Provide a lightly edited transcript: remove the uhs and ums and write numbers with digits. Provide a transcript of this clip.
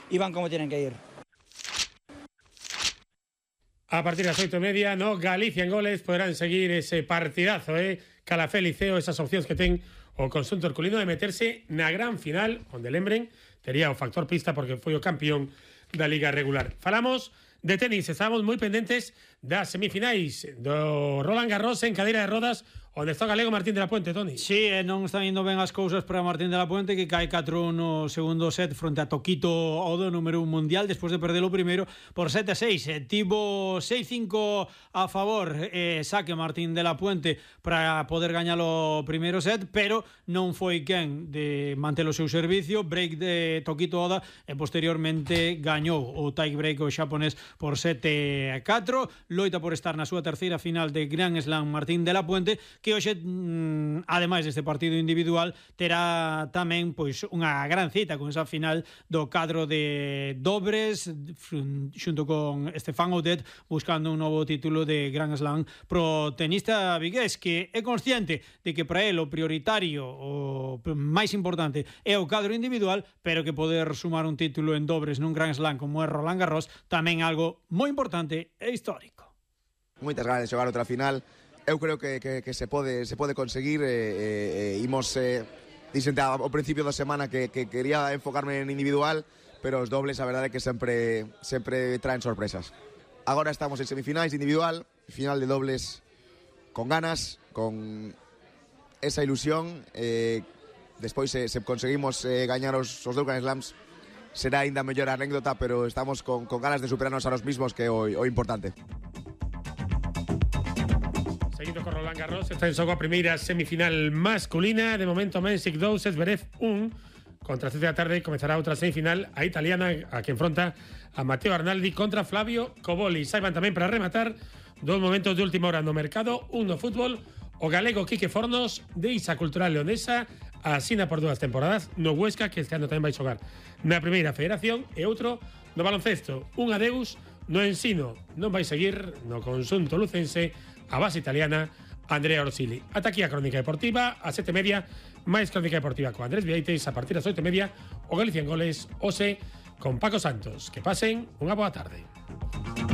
y van como tienen que ir. A partir das 8:30, no Galicia en goles poderán seguir ese partidazo, Calafé Liceo, esas opcións que ten o conxunto herculino de meterse na gran final, onde lembren, tería o factor pista porque foi o campeón da Liga regular. Falamos de tenis, estábamos moi pendentes das semifinais do Roland Garros en cadeira de rodas, onde está o galego Martín de la Puente, Toni. Sí, non están indo ben as cousas para Martín de la Puente, que cae 4 no segundo set fronte a Tokito Odo, número 1 mundial, despois de perder o primeiro por 7-6. Tivo 6-5 a favor, saque Martín de la Puente para poder gañar o primeiro set, pero non foi quen de manter o seu servicio, break de Tokito Oda, e posteriormente gañou o tie break o xaponés por 7-4. Loita por estar na súa terceira final de Grand Slam Martín de la Puente, que hoxe, ademais deste partido individual, terá tamén pois unha gran cita con esa final do cadro de dobres xunto con Stefan Oudet, buscando un novo título de Grand Slam pro tenista vigués, que é consciente de que para el o prioritario, o máis importante é o cadro individual, pero que poder sumar un título en dobres nun Grand Slam como é Roland Garros tamén é algo moi importante e histórico. Moitas ganas de xogar outra final. Eu creo que se pode conseguir. Imos dixente ao principio da semana que quería enfocarme en individual, pero os dobles a verdade é que sempre traen sorpresas. Agora estamos en semifinais de individual, final de dobles con ganas, con esa ilusión. Despois se conseguimos gañar os dous Grand Slams será ainda mellor anécdota, pero estamos con ganas de superarnos a nos mismos, que é o importante. Seguindo con Roland Garros, está en xogo a primeira semifinal masculina. De momento, Mensik 2, Zverev 1. Contra 7 da tarde comezará outra semifinal, a italiana, a que enfronta a Matteo Arnaldi contra Flavio Cobolli. Saiban tamén para rematar dos momentos de última hora no mercado, un no fútbol, o galego Quique Fornos, de Isa Cultural Leonesa, asina por 2 temporadas no Huesca, que este ano tamén vai xogar na primeira federación, e outro no baloncesto, un adeus no ensino, non vai seguir no conxunto lucense a base italiana Andrea Orsili. Ata aquí a Crónica Deportiva, a 7:30, máis Crónica Deportiva con Andrés Vieites, a partir das 8:30, o Galicia en Goles, hoxe con Paco Santos. Que pasen unha boa tarde.